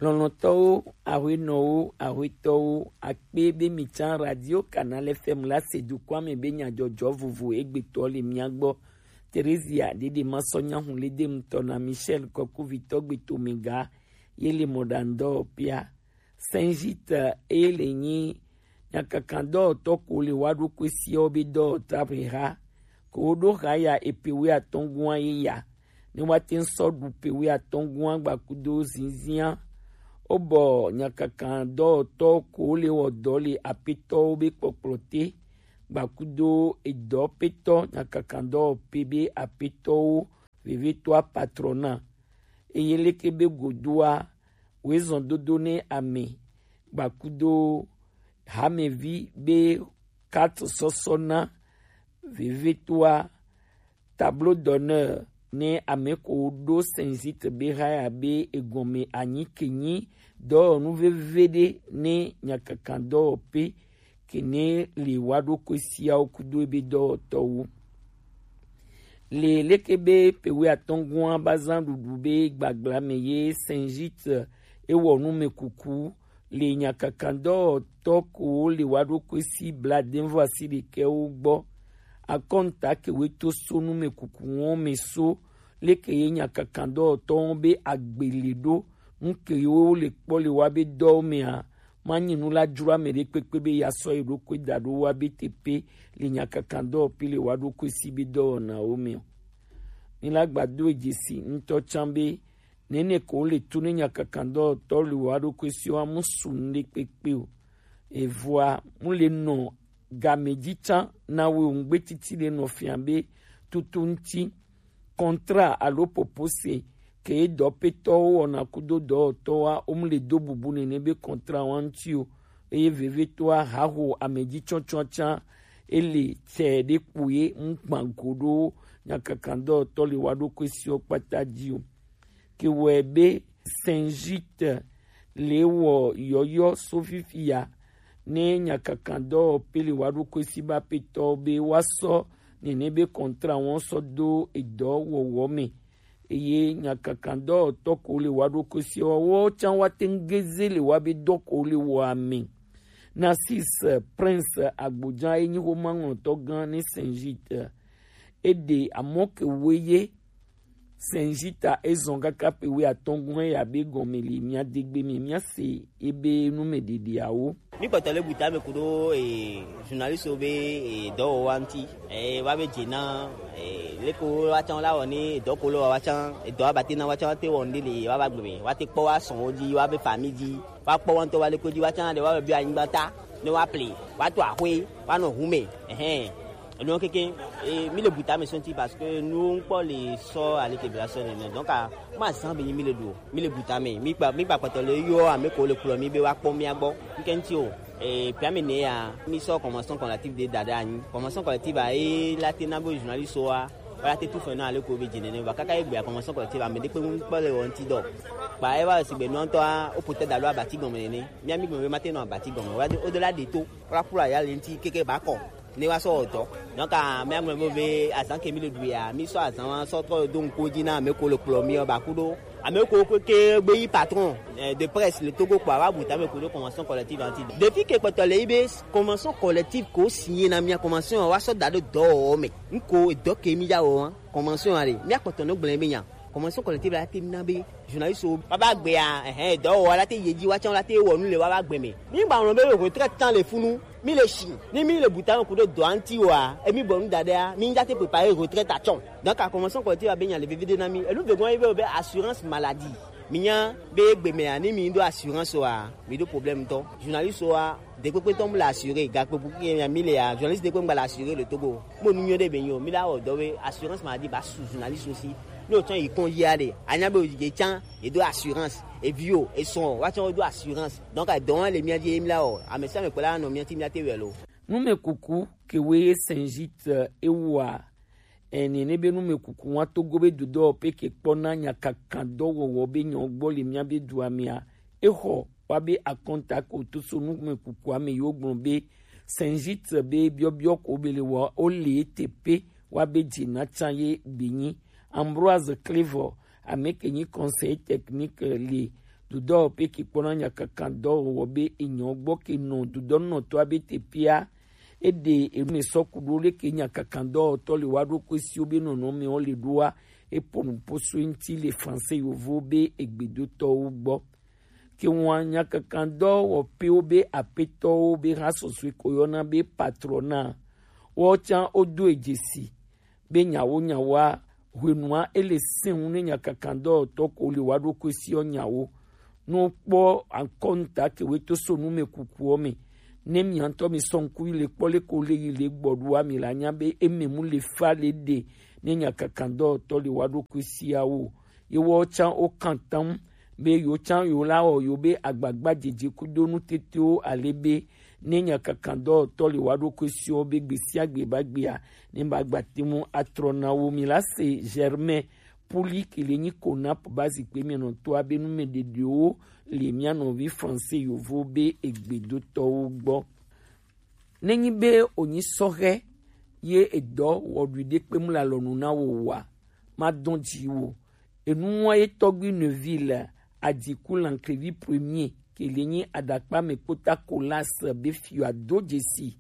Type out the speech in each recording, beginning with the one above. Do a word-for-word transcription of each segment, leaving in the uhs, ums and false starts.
Lɔlɔ̃tɔwo, ahuenɔwo, ahuetɔwo, akpe be mi tsã Radio Canal F M la se dukɔa me be nyadzɔdzɔ vovo egbetɔ le mia gbɔ. Terezia Dede Masɔ Nyahun le de ŋutɔ na Michel Kɔkuvitɔ Gbetomega ye le mɔɖaŋudɔwɔƒea. Saint Gite eye le nyi nyakakadɔwɔtɔ ko le wa ɖokui siawo be dɔwɔta ʋeha ko wo ɖo ha ya epe wuiatɔ̃ gua ye ya ne woate ŋu sɔ ɖu pe wuiatɔ̃ gua gbakudo zinzia. Wobɔ nyakakadɔwɔtɔ ko le wɔ dɔ le apetɔwo be kpɔkplɔ te gbakudo edɔpetɔ nyakakadɔwɔpe be apetɔwo vevetoa patrɔna. Eye leke be godoa, woezɔn dodo ne ame gbakudo hamevi be carte sɔsɔ na vevetoa tableau d'honneur ne ame ko ɖo Saint Gite be haya be egɔme anyi ke nyi dɔwɔnu veve ɖe ne nyakakadɔwɔpe ke ne le wa ɖokui siawo kudo ebe dɔwɔtɔwo. Le leke be pe wuiatɔ̃ gua ba zã ɖuɖu be gbagbla me ye Saint Gite ewɔ numekuku le nyakakadɔwɔtɔ ko le wa ɖokui si bladeŋvɔ asiɖekɛwo gbɔ. Akɔnta ke we to so numekuku wɔn me so leke ye nyakakadɔwɔtɔwo be agbele ɖo nu ke wo le kpɔ le wa be dɔwo mea, manyi nu la dzro ame ɖe kpekpe be ya sɔ ye ɖokui da ɖo wa be teƒe le nyakakadɔwɔƒe le wa ɖokui si be dɔwɔnawo me o. Mi la gbado dzesi ŋutɔ tsã be nene ko le tu ne nyakakadɔwɔtɔ le wa ɖokui si wa mu su nu ɖe kpekpe o. Evɔa mu le nɔ game dzi tsã na wo ŋugbe titi le nɔ fia be tutu ŋuti kɔntra alo popose ke dɔpetɔwo wɔna kudo dɔwɔtɔwoa, womle do bubu nene be kɔntra wa ŋuti o. Eye vevetoa haho amedzitsɔtsɔa tsã ele tsɛ ɖe kpo ye ŋgbã go ɖo nyakakadɔwɔtɔ le wa ɖokui siwo kpata dzi o. Ke wɔe be Saint Gite le wɔ yɔyɔ so fifi ya ne nyakakadɔwɔƒe le wa ɖokui si be apetɔ be woasɔ nene be kɔntra wɔn sɔ do edɔ wɔwɔ me. Eye nyakakadɔwɔtɔ ko le wa ɖokui si wɔwɔ tsã wa te ŋu geze le wa be dɔ ko le wɔ ame. Narcisse Prince Agbodza ye nyi xomaŋlɔtɔ gã ne Saint Gite. Eɖe amɔ ke woe ye Saint Gite ezɔn kaka pe wuiatɔ̃ gɔ̃ eya be gɔme le mia degbe me mia se ebe numeɖeɖeawo. Mi kpɔtɔ le buta me kudo e journaliste be e dɔwɔwa ŋuti e wa be dze na e leko wa tsã la wɔ ni dɔ ko le wa tsã e dɔ abate na wa tsã wa te wɔ ŋɖe le wa ba gbe me wa te kpɔ wa sɔn wo dzi wa be famille dzi wa kpɔ wa ŋutɔ wa leko dzi wa tsã ɖe wa be bi anyigba ta ne wa ple wa to axwe wa nɔ hu me. Ɛhɛn. Enu keke e mi le buta me sɔnti parce que nu ŋkpɔ le sɔ aleke bla sɔ nene donc a ma zan be mi le ɖu mi le buta me mi kpa mi kpa kpɔtɔ le yɔ ame ko le kplɔ mi be wa kpɔ mia gbɔ nke ŋuti o e pia me ne ya mi sɔ convention collective de da ɖe anyi convention collective a e la te na be journaliste wa wa la te tu fɛ na ale ko be dze nene va kaka egbe convention collective ame ɖe kpe ŋu kpɔ le wɔ ŋuti dɔ kpa e va sigbe nua ŋutɔ a o peut-être alo abati gɔme nene mia mi gɔme be ma te nɔ abati gɔme wa o de la de to wa kpɔ ya le ŋuti keke ba kɔ ne wa sɔ wɔ dɔ donc a mia gɔme be be azan ke mi le ɖu ya mi sɔ azan wa sɔ trɔ do ŋko dzi na ame ko le kplɔ mi o ba ku ɖo ame ko ke ke gbe yi patron eh, de presse le Togo kpɔ a wa bu tame ko ɖo convention collective anti depuis ke kpɔtɔ le yi be convention collective ko signé na mia convention wa sɔ da ɖo dɔwɔwɔ me ŋko dɔ ke mi ya wɔ wa convention ya ɖe mia kpɔtɔ no gblẽ be nya convention collective la te na be journaliste wo baba gbea ɛhɛn dɔwɔwɔ la te yi edzi wa tsã la te wɔ nu le wa ba gbe me mi gba ŋlɔ be retraite tsã le funu mi le si ni mi le buta me ku ɖo dɔa ŋuti wa emi bɔ nu da ɖea mi ŋdza te prépare retraite atsɔ donc a convention collective be nya le vevide na mi enu vegɔn ye be o be assurance maladie mi nya be egbe mea ni mi do assurance wa mi do problème tɔ journaliste wa dekpekpe tɔ mu le assuré gakpe bu ke mia mi le ya journaliste dekpe ŋgba le assuré le Togo mo nu nyɔ ɖe be nyo mi la wɔ dɔ be assurance maladie ba su journaliste aussi ni o tsã yi kɔn yia ɖe anya be o yi tsã e do assurance evi o esɔn wa tsã o do assurance donc edɔ wa le mia dzi ye mi la wɔ ame sia ame kpɔ la nɔ mia ti mia te wɛ lo. Numekuku ke woe ye Saint Gite ewɔa ene ne be numekuku wa Togo be dodɔ pe ke kpɔ na nyakakadɔwɔwɔ be nyɔ gbɔ le mia be dua mea exɔ wa be akɔnta ko to so numekukua me yo gblɔ be Saint Gite be biɔbiɔ ko be le wɔ o le ete pe wa be dze na tsa ye gbe nyi Ambroise Clévor ame ke nyi conseil technique le dudɔ pe ke kpɔna nyakakandɔ wɔ be enyɔ gbɔ ke nɔ dudɔ nɔtɔ abe te pia. Ede enu me sɔ kudo le ke nyakakandɔ tɔ le wa ɖo ko si wo be nɔnɔ me wo le ɖo wa. E po nu po so ŋti le français yovo be egbedotɔwo gbɔ. Ke ŋua nyakakandɔ wɔ pe wo be apetɔwo be ha sɔsɔe ko yɔna be patrona. Wo can wo do e dzesi be nyawo nyawoa, hwenua ele sɛn ŋu ne nyakakandɔtɔ ko le wa ɖo ko si ɔ nyawo. No kpɔ akɔnta ke we to so nu me kuku ɔ me. Ne mi ŋtɔ mi sɔ ŋku yi le kpɔ le ko le yi le gbɔ ɖo wa mi la nya be eme mu le fa le ɖe ne nyakakandɔtɔ le wa ɖo ko si awo. Ye wɔ can wo kan tam be yo can yo la wɔ yo be agbagba jeje kudo nu tetewo ale be ne nyakakandɔtɔ le wa ɖo ko si ɔ be gbe sia gbe ba gbea ne ba gba te mu atrɔ na wo mi la se Germain Puli ke le nyi Konap ba zikpe mɛ nɔtɔ abe nu mɛ ɖeɖewo le mia nɔvi français yovo be egbedotɔwo gbɔ. Ne nyi be onyi sɔhɛ ye edɔ wɔ ɖui ɖe kpe mu la lɔnu na wo wa ma dɔn ji wo. Enu wa ye tɔgbi Neuville Adiku Lankrevi premier ke le nyi aɖakpa me kpota Colas be fiɔ ado dzesi.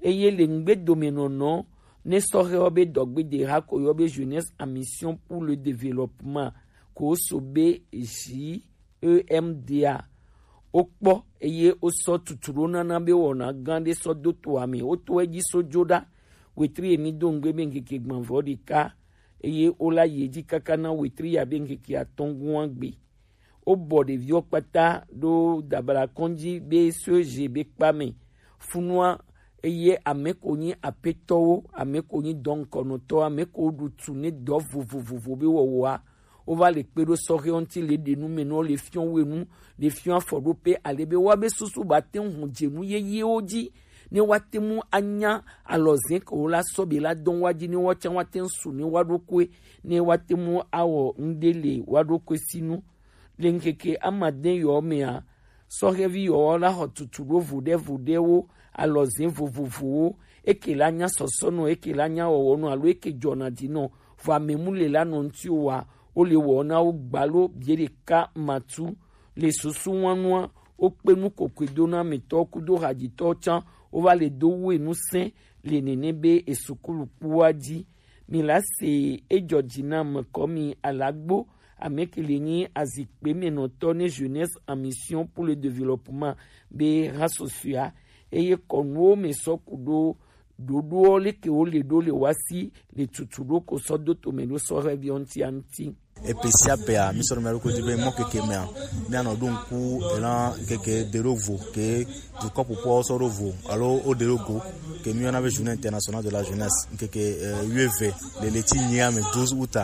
Eye le ŋgbedomenɔnɔ ne sɔhɛ wo be dɔgbede ha ko yɔ be Jeunesse en Mission pour le Développement ko so be J E M D A. Wo kpɔ eye wo sɔ tutu ɖo nana be wɔna gã ɖe sɔ do to ame wo to edzi so dzo ɖa. Wetri emi do ŋgbe be ŋkeke gbãvɔ ɖeka eye wo la yi edzi kaka na wetri ya be ŋkeke atɔ̃ gua gbe. Wobɔ ɖeviwo kpata ɖo dabla kɔndzi be so zi be kpa me. Funua eye ame ko nyi apetɔwo, ame ko nyi dɔnkɔnɔtɔ, ame ko ɖu tu ne dɔ vovovovo be wɔwɔa, wova le kpe ɖo sɔhɛ ŋti le ɖe nu me nɔ le fiɔ wenu, le fiɔ afɔɖoƒe ale be woabe susu ba te ŋu dze nu yeyewo dzi ne woate ŋu anya alɔzẽ ke wo la sɔ be la dɔn wa dzi ne woatsã woate ŋu su ne woaɖokoe ne woate ŋu awɔ ŋɖe le woaɖokoe si nu. Le ŋkeke amadẽ yɔ mea, sɔhɛvi yɔwo la xɔ tutu ɖo vuɖevuɖewo, alɔzẽ vovovowo, eke la nya sɔsɔnɔ, eke la nya wɔwɔnɔ alo eke jɔna dinɔ, vɔ amemu le la nɔ ŋti wa, wo le wɔ na wo gbalo bie ɖeka matu. Le susu wanua, wo kpe nu kokoe do na ametɔ kudo hadzitɔ tsã, wo va le do wu enu sɛn le nene be esukulu kpua dzi. Mi la se ejɔ dzi na me kɔ mi alagbo ame ke le nyi azikpe me nɔtɔ ne Jeunesse en Mission pour le Développement be ha susua eye kɔnuwo me sɔ ku ɖo ɖoɖoɔ leke wo le ɖo le wa si le tutu ɖo ko sɔ do to me ɖo sɔhɛviɔ ŋti a ŋti. Epe sia pea, mi sɔ ɖo mia ɖokui dzi be mɔ keke mea, mianɔ ɖo ŋku ena keke de ɖo vo ke dukɔ ƒoƒoawo sɔ ɖo vo alo wo ɖe ɖo go ke mi yɔna be Journée Internationale de la Jeunesse ŋkeke eh, wuieve le leti nyia me, douze août.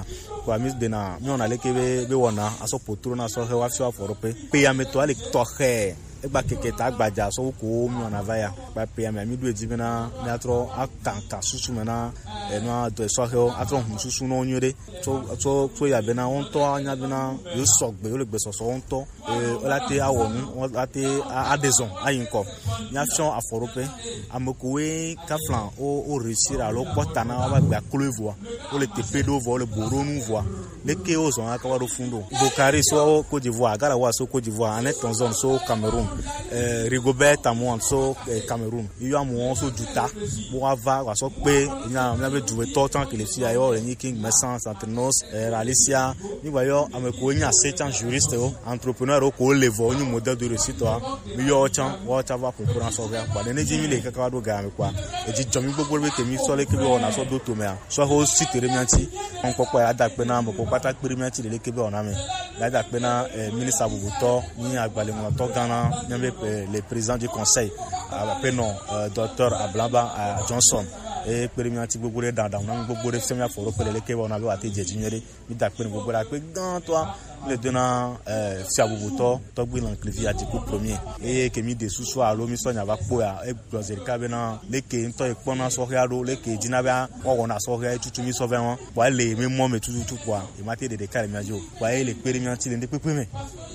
Kɔa mi dena mi wɔna leke be be wɔna asɔ potro na sɔhɛ wa fiɔ afɔ ɖo pe pe ya me tɔ ale tɔxɛ. Egba keke ta gbadza sɔ wo ko mi wɔna va ya. Kpa pe ya me mi ɖo edzi bena mi atrɔ akankan susu me na enua dɔ sɔhɛwo atrɔ hun susu nɔ nyuie ɖe. Tso tso tso ya bena wo ŋutɔ anya bena yo sɔgbe yo le gbesɔsɔ wo ŋutɔ. Ee, wola te awɔ nu, wola te a- aɖe zɔn ayi ŋkɔ. Míafiɔ afɔɖoƒe. Ame kowoe kafla wo wo réussir alo kpɔ ta na woƒe agbe aklo evoa, wole teƒe ɖo vɔ, wole bo ɖo nu vɔa, leke wozɔn aka va ɖo fun ɖo? Bokari so Côte d'Ivoire, Garawa so Côte d'Ivoire, Anet Tonzon so Cameroun, eh, Rigobert Tamuan so eh, Cameroun. Yɔ amewo so duta, bo wa va wa sɔ kpe nya míabe duwetɔ tsan ke le fia yɔ le nyi King Messence, Antenos, eh, Alicia. Mi gba yɔ ame ko nya se tsan juriste wo, entrepreneur wo ko le vɔ nyi modèle de réussite wa. Mi yɔ tsan wa tsa va concours na sɔ ga. Kwa ne ne dzi mi le kaka wa do ga me kwa. E dzi jɔ mi gbogbo be ke mi sɔ le ke be wa na sɔ do to mea. Sɔ ho si tere mi anti. Kon kpɔkpɔ ya da kpe na mo ko kpata kpiri mi anti le ke be wa na me. Ya da kpe na eh, ministre abubutɔ ni agbalẽŋlɔtɔ gã na míabe eh, le président du conseil aƒenɔ eh, docteur Ablaba eh, Johnson. Eye kpe ɖe mía ŋuti gbogbo ɖe ɖaɖaŋu na mí gbogbo ɖe fia mía fɔ ɖo kpe le leke wɔna be wòate dze dzi nyuie ɖe. Mí da kpe ɖe gbogbo ɖe akpe gãtɔa le do na eh, fia bubutɔ tɔgbi Lanklivi Adiku premier. Eye ke mí ɖe susu alo mí sɔ nya va kpɔ ya egblɔ zi ɖeka bena leke ŋutɔ ye kpɔna sɔhɛa ɖo leke dina be woawɔna sɔhɛa tutu mí sɔ vɛ wɔn. Kpɔa ele mi mɔ me tututu kpɔa ema te ɖe ɖeka le mía dzi o. Kpɔa ele kpe ɖe mía ŋuti le ŋɖe kpekpe me.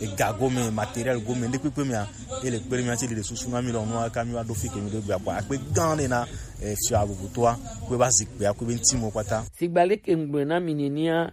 Ega gome, matériel gome, ŋɖe kpekpe mea, ele kpe ɖe mía ŋuti le ɖe susu na mí lɔ nua ka mí va ɖo fi ke mí ɖo gbea kpɔa akpe gã ɖe na eh, fia bubutoa kpe va zikpea kpe be ŋuti mo kpata. Sigba leke ŋgblɔe na mi nenia,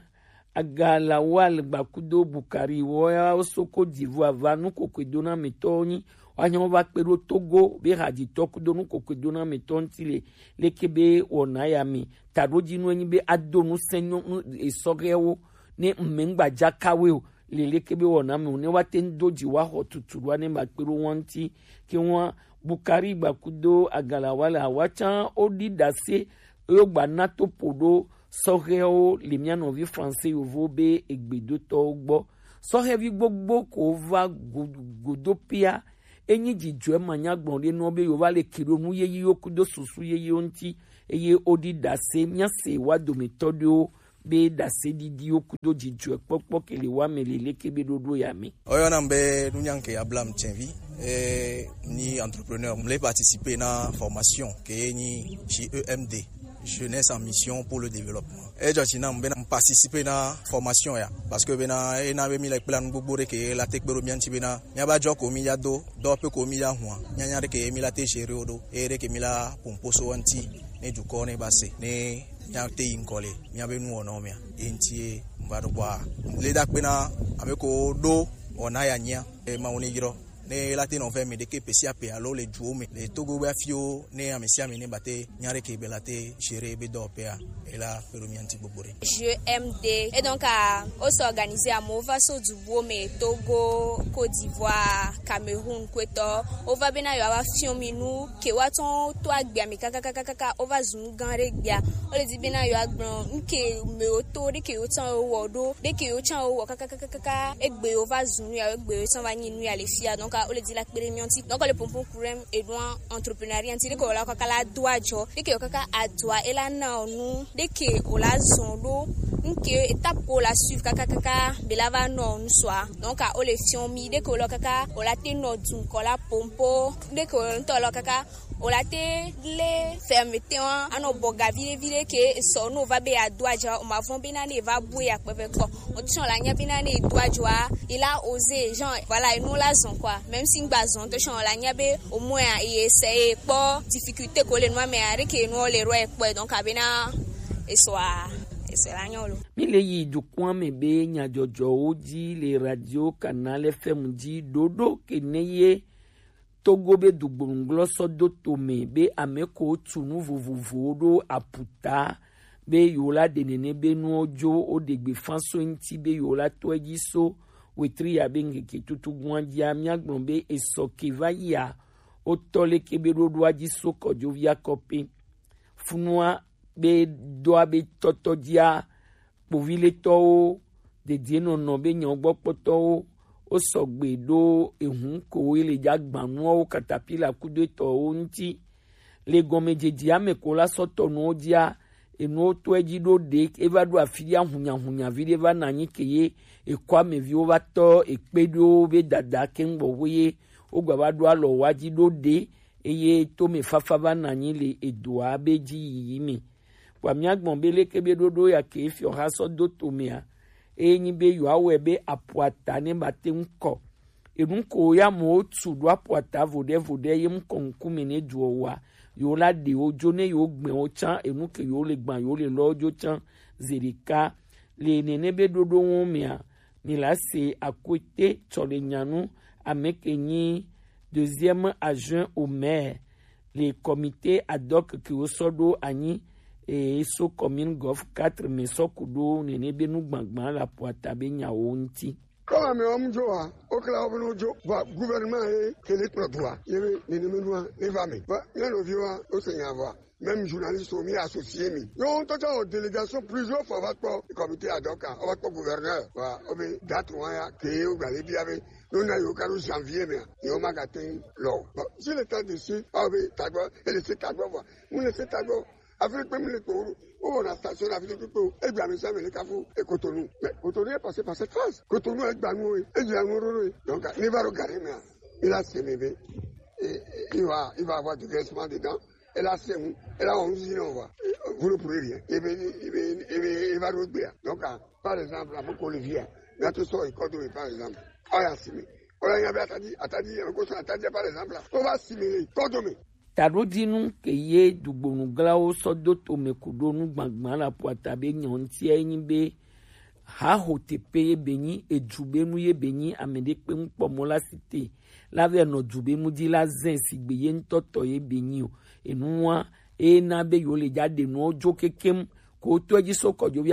Agalawal gbakudo Bukari wɔ ya wo so Côte d'Ivoire va nu kokwe dona mi tɔ nyi. Wa nyɔ va kpe ɖo Togo be hadzitɔ kudo nu kokwe dona mi tɔ ŋuti le leke be wɔna ya mi. Taɖo dzi nu enyi be ado nu sɛnyɔ nu esɔgɛwo ne ŋmɛ ŋgba dza kawe o. Le leke be wɔna mi o ne wa te ŋ do dzi wa xɔ tutu ɖoa ne ma kpe ɖo wɔn ŋuti. Ke wɔn Bukari gbakudo Agalawal awa tsã wo ɖi ɖase yo gba na to po ɖo sɔhɛwo le mía nɔvi Fransɛ yovo be egbedotɔwo gbɔ. Sɔhɛvi gbogbo ko va go- godopia. Enyi dzidzɔe manyagblɔ ɖe nɔ be yo va le ke ɖo nu yeyiwo kudo susu yeyiwo ŋuti eye wo ɖi ɖase mía se wa dometɔ ɖewo be ɖase ɖiɖiwo kudo dzidzɔe kpɔkpɔ ke le wa me le leke be ɖoɖo ya me. Oyɔnam be Nunyanke Abraham Tsenvi, eh, ni entrepreneur, mle participer na formation ke ni chez E M D, Jeunesse en Mission pour le Développement. Edzɔ tsi nam be m participer na formation ya, parce que bena ena be mi le kpla nu gbogbo ɖe ke la te kpe ɖo mía ŋuti bena mía ba dzɔ ko mi ya do dɔ pe ko mi ya hua mía nya ɖe ke mi la te gérer wo ɖo eye ɖe ke mi la pomposo ŋuti ne dukɔ ne ba se ne mía te yi ŋkɔ le mía be nuwɔnawo mea. Ye ŋuti ye m va ɖo kpɔa le da kpe na ame ko ɖo wɔna ya nyia e ma wo ne yrɔ ne la te nɔ vɛ mi ɖeke pe sia pe alo le duwo me le Togo be afiwo ne ame sia ame ne ba te nya ɖe ke be la te gérer be dɔwɔƒea e la kpe ɖo mía ŋuti gbogbo ɖe. G M D. Et donc, ah, on s'organise à Mova so du Bome, Togo, Côte d'Ivoire, Cameroun, Kweto. On va bien avoir fion minou, ke wa ton to agbia mi kaka kaka kaka, on va zun ganre gbia. On le dit bien yo agbon, nke me o to de ke yo tan o wo do, de ke yo tan o wo kaka kaka kaka, egbe yo va zun ya, egbe yo tan va ni nu ya le fia. Donc, ah, on le dit la kpere mi anti. Donc, le pompon kurem e doit entrepreneuriat anti de ke o la kaka la doit jo, de ke yo kaka a doit e la na onu, de ke o la zon do, nke étape ko la suivre kaka kaka be la va no onu soi. Donc, ah, on le fion mi de ke o la kaka o la te no dun ko la pompo, de ke o to la kaka o la te le fermeté wa ano boga vide vide ke so no va be a doit jo o ma von be na ne va bu ya pe ko. On ti la nya be na ne doit jo a il a osé genre voilà e no la zon quoi. Même si ngba zon to son la nya be au moins il essaye pour difficulté ko le no mais avec no le roi quoi donc abena et soit et c'est la nyolo. Mi le yi dukun me be nyadzɔdzɔwo dzi le radio Canal F M dzi ɖoɖo ke ne ye Togo be dugbonugblɔ sɔ do to me be ame ko tu nu vovovowo ɖo aputa be yewo la ɖe nene be nuwo dzo wo ɖe gbe fa so eŋuti be yewo la tɔ edzi so wetri ya be ŋkeke tutu gua dzia míagblɔ be esɔ ke va yia wotɔ leke be ɖoɖoa dzi so kɔdzovia kɔpe funua be dɔa be tɔtɔ dzia kpoviletɔwo dedienɔnɔ be nyɔgbɔkpɔtɔwo wo sɔgbe ɖo ehun ko wo le dza gbanuawo katapila kudo etɔwo ŋuti. Le gɔmedzedzea me ko la sɔ tɔ nuwo dzia enuwo tɔe dzi ɖo ɖe eva ɖo afi ɖe ahunyahunya vi ɖe va na anyi ke ye ekɔ ameviwo va tɔ ekpe ɖo be dada ke ŋgbɔ wo ye wogba va ɖo alɔ wa dzi ɖo ɖe eye tome fafa va na anyi le edoa be dzi yiyi me. Vɔa míagbɔn be leke be ɖoɖo ya ke fiɔha sɔ do tomea, eye nyi be yewoawɔe be apuata ne ba te ŋu kɔ. Enu ko ya amewo tu ɖo apuata voɖe voɖe ye ŋkɔ ŋkume ne duɔ wa, yewo la ɖe wo dzo ne yewo gbɛ wo tsã, enu ke yewo le gbã yewo le lɔ dzo tsã zeɖeka. Le nene be ɖoɖo ŋu mea, mi la se akwete tsɔ le nyanu ame ke nyi deuxième adjoint au maire le comité ad hoc ke wosɔ ɖo anyi e so commune Golf quatre me sɔ ku ɖo nene be nu gbagba le apuata be nyawo ŋuti. Kɔla me wɔm dzo wa, wokla wo be no dzo. Vɔa gouvernement ye ke le kplɔ dua ye be nene me nua ne va me. Vɔa mía nɔviwoa wose nya vɔa. Même journaliste wo mi associé mi. Yo ŋutɔ tsã wɔ délégation plusieurs fois va kpɔ comité ad hoc a, wova kpɔ gouverneur. Wa wo be date wa ya ke wo gba le bia be no na yo ka ɖo janvier mea, yo ma ga te lɔ. Bon, si le temps de si, awo be tagbɔ, ele se tagbɔ vɔa, mu le se tagbɔ. Afi ɖe kpe mu le kpo wo, wo wɔna station afi ɖe kpe kpe o. Egbe ame sia ame le kafu e Cotonou. Mais Cotonou est passé par cette phase. Cotonou egba nu o, e dzi anu ɖo ɖo. Donc, ne va ɖo gare mea, il a semé be, il va, il va avoir du grincement dedans. Elle a seum, elle a onze ans, on voit. Vous ne pourrez rien. Et bien, et bien, et bien, il va revenir. Donc, ah, par exemple, à mon collègue, là, tout ça, il compte, par exemple. Ah, il a signé. On a, il y avait Atadi, Atadi, on compte Atadi, par exemple, là. On va assimiler, coordonner. Taɖodinu ke ye dugbonuglawo sɔ do tome ku ɖo nu gbagba le apuata be nyɔntia ye nyi be Haho tepe ye be nyi, edubenu ye be nyi, ame ɖe kpe ŋkpɔ mɔ la si te la vɛ nɔ dubenu di la zɛn sigbe ye ŋutɔ tɔ ye be nyi o. Enua ena be yo le ja ɖe nuwo jo kekem ko to edzi so kɔjo via